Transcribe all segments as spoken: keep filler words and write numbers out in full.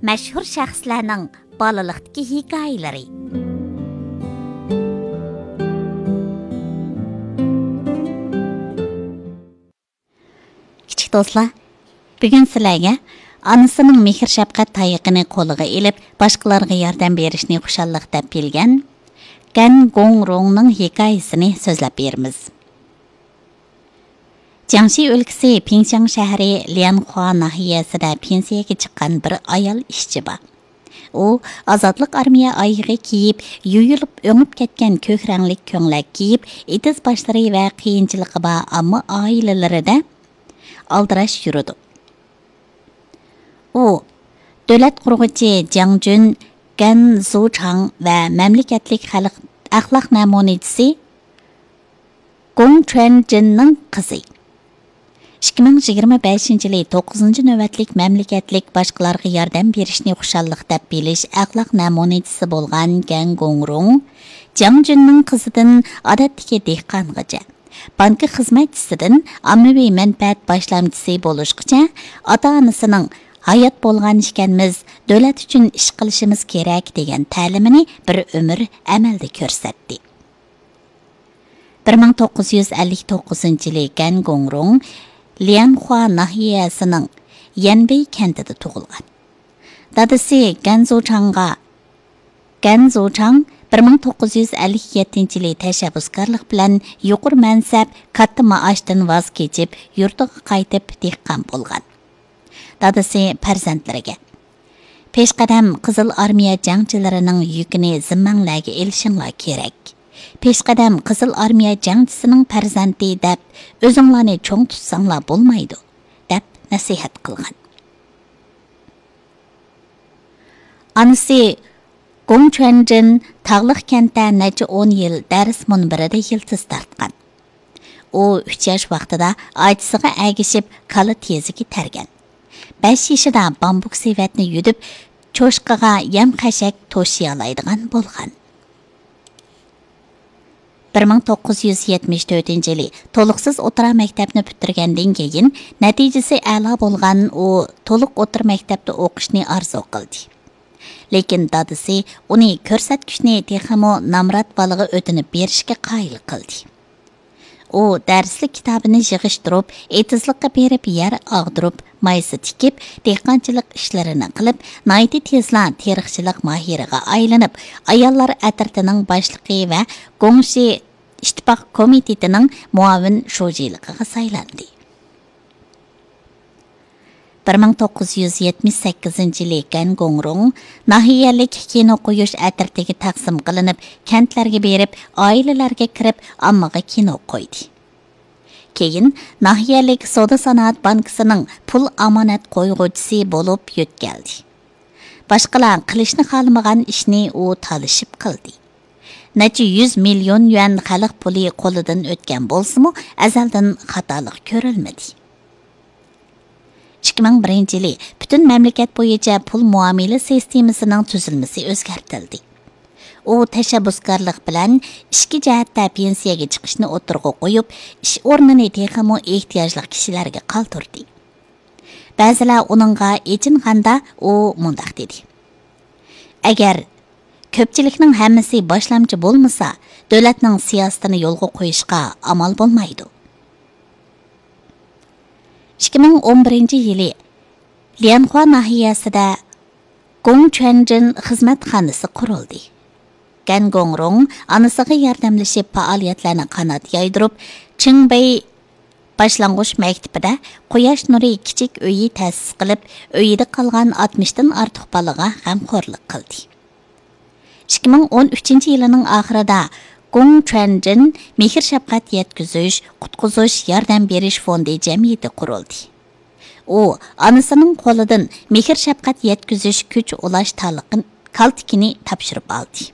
مەشھۇر شەخسلەرنىڭ بالىلىقتىكى ھېكايىلىرى. كىچىك دوستلار، بۈگۈن سىلەرگە ئانىسىنىڭ مېھىر-شەپقەت تايىقىنى قولىغا ئېلىپ، باشقىلارغا ياردەم بېرىشنى خۇشاللىق دەپ بىلگەن گەن گوڭرۇڭنىڭ ھېكايىسىنى سۆزلەپ بېرىمىز. جياڭشى ئۆلكىسى پىڭشاڭ شەھىرى ليەنخۇا ناھىيەسىدە پېنسىيەگە چىققان بىر ئايال ئىشچى بار. ئۇ ئازادلىق ئارمىيە ئايىغى كىيىپ، يۇيۇلۇپ ئۆڭۈپ كەتكەن كۆك رەڭلىك كۆڭلەك كىيىپ، ئېتىز باشلىرى ۋە قىيىنچىلىقى بار ئامما ئائىلىلىرىدە ئالدىراش يۈرىدۇ. ئۇ دۆلەت قۇرغۇچى جياڭ جۈن، گەن زۇچاڭ ۋە مەملىكەتلىك خەلق ئەخلاق نەمۇنىچىسى گوڭ چۈەنجىننىڭ قىزى. ئىككى مىڭ يىگىرمە بەشىنچى يىلى توققۇزىنچى نۆۋەتلىك مەملىكەتلىك باشقىلارغا ياردەم بېرىشنى خۇشاللىق دەپ بىلىش ئەخلاق نەمۇنىچىسى بولغان گەن گوڭرۇڭ جياڭ جۈننىڭ قىزىدىن ئادەتتىكى دېھقانغىچە، بانكا خىزمەتچىسىدىن ئاممىۋى مەنپەئەت باشلامچىسى بولۇشقىچە، ئاتا-ئانىسىنىڭ «ھايات بولغان ئىكەنمىز، دۆلەت ئۈچۈن ئىش قىلىشىمىز كېرەك» دېگەن تەلىمىنى بىر ئۆمۈر ئەمەلدە كۆرسەتتى. بىر مىڭ توققۇز يۈز ئەللىك توققۇزىنچى يىلى گەن گوڭرۇڭ ليەنخۇا ناھىيەسىنىڭ يەنبېي كەنتىدە تۇغۇلغان. دادىسى گەن زۇچاڭغا، گەن زۇچاڭ بىر مىڭ توققۇز يۈز ئەللىك يەتتىنچى يىلى تەشەببۇسكارلىق بىلەن يۇقىرى مەنسەپ، كاتتا مائاشتىن ۋاز كېچىپ، يۇرتىغا قايتىپ دېھقان بولغان. دادىسى پەرزەنتلىرىگە، «پېشقەدەم قىزىل ئارمىيە جەڭچىلىرىنىڭ يۈكىنى زىممەڭلەرگە ئېلىشىڭلار كېرەك. پېشقەدەم قىزىل ئارمىيە جەڭچىسىنىڭ پەرزەنتى دەپ ئۆزۈڭلارنى چوڭ تۇتساڭلار بولمايدۇ» دەپ نەسىھەت قىلغان. ئانىسى گوڭ چۈەنجىن تاغلىق كەنتتە نەچچە ئون يىل دەرس مۇنبىرىدە يىلتىز تارتقان. ئۇ ئۈچ ياش ۋاقتىدا ئاچىسىغا ئەگىشىپ كالا تېزىكى تەرگەن. بەش يېشىدا بامبۇك سېۋەتنى يۈدۈپ، چوشقىغا يەم-خەشەك توشىيالايدىغان بولغان. بىر مىڭ توققۇز يۈز يەتمىش تۆتىنچى يىلى تولۇقسىز ئوتتۇرا مەكتەپنى پۈتتۈرگەندىن كېيىن، نەتىجىسى ئەلا بولغان ئۇ تولۇق ئوتتۇرا مەكتەپتە ئوقۇشنى ئارزۇ قىلدى. لېكىن دادىسى ئۇنى كۆرسەتكۈچنى تېخىمۇ نامرات بالىغا ئۆتۈنۈپ بېرىشكە قايىل قىلدى. ئۇ دەرسلىك كىتابىنى يىغىشتۇرۇپ، ئېتىزلىققا بېرىپ يەر ئاغدۇرۇپ، مايسا تىكىپ، دېھقانچىلىق ئىشلىرىنى قىلىپ، ناھايىتى تېزلا تېرىقچىلىق ماھىرىغا ئايلىنىپ، ئاياللار ئەترىتىنىڭ باشلىقى ۋە گوڭشى ئىتتىپاق كومىتېتىنىڭ مۇئاۋىن شۇجىلىقىغا سايلاندى. بىر مىڭ توققۇز يۈز يەتمىش سەككىزىنچى يىلى گەن گوڭرۇڭ ناھىيەلىك كىنو قويۇش ئەترىتىگە تەقسىم قىلىنىپ، كەنتلەرگە بېرىپ، ئائىلىلەرگە كىرىپ، ئاممىغا كىنو قويدى. كېيىن ناھىيەلىك سودا سانائەت بانكىسىنىڭ پۇل ئامانەت قويغۇچىسى بولۇپ يۆتكەلدى. باشقىلار قىلىشنى خالىمىغان ئىشنى ئۇ تالىشىپ قىلدى. نەچچە يۈز مىليون يۈەن خەلق پۇلى قولىدىن ئۆتكەن بولسىمۇ، ئەزەلدىن خاتالىق كۆرۈلمىدى. ئىككى مىڭ بىرىنچى يىلى پۈتۈن مەملىكەت بويىچە پۇل مۇئامىلە سىستېمىسىنىڭ تۈزۈلمىسى ئۆزگەرتىلدى. ئۇ تەشەببۇسكارلىق بىلەن ئىچكى جەھەتتە پېنسىيەگە چىقىشنى ئوتتۇرىغا قويۇپ، ئىش ئورنىنى تېخىمۇ ئېھتىياجلىق كىشىلەرگە قالدۇردى. بەزىلەر ئۇنىڭغا ئېچىنغاندا، ئۇ مۇنداق دېدى: «ئەگەر كۆپچىلىكنىڭ ھەممىسى باشلامچى بولمىسا، دۆلەتنىڭ سىياسىتىنى يولغا قويۇشقا ئامال بولمايدۇ.» ئىككى مىڭ ئون بىرىنچى يىلى ليەنخۇا ناھىيەسىدە گوڭ چۈەنجىن خىزمەتخانىسى قۇرۇلدى. گەن گوڭرۇڭ ئانىسىغا ياردەملىشىپ پائالىيەتلەرنى قانات يايدۇرۇپ، چىڭبېي باشلانغۇچ مەكتىپىدە قۇياش نۇرى كىچىك ئۆيى تەسىس قىلىپ، ئۆيىدە قالغان ئاتمىشتىن ئارتۇق بالىغا غەمخورلۇق قىلدى. ئىككى مىڭ ئون ئۈچىنچى يىلىنىڭ ئاخىرىدا گوڭ چۈەنجىن مېھىر-شەپقەت يەتكۈزۈش، قۇتقۇزۇش، ياردەم بېرىش فوندى جەمئىيىتى قۇرۇلدى. ئۇ ئانىسىنىڭ قولىدىن مېھىر-شەپقەت يەتكۈزۈش كۈچ ئۇلاش تالىقىن-، كالتىكىنى تاپشۇرۇپ ئالدى.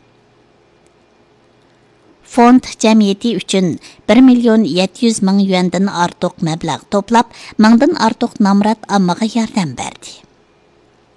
فوند جەمئىيىتى ئۈچۈن بىر مىليون يەتتە يۈز مىڭ يۈەندىن ئارتۇق مەبلەغ توپلاپ، مىڭدىن ئارتۇق نامرات ئاممىغا ياردەم بەردى.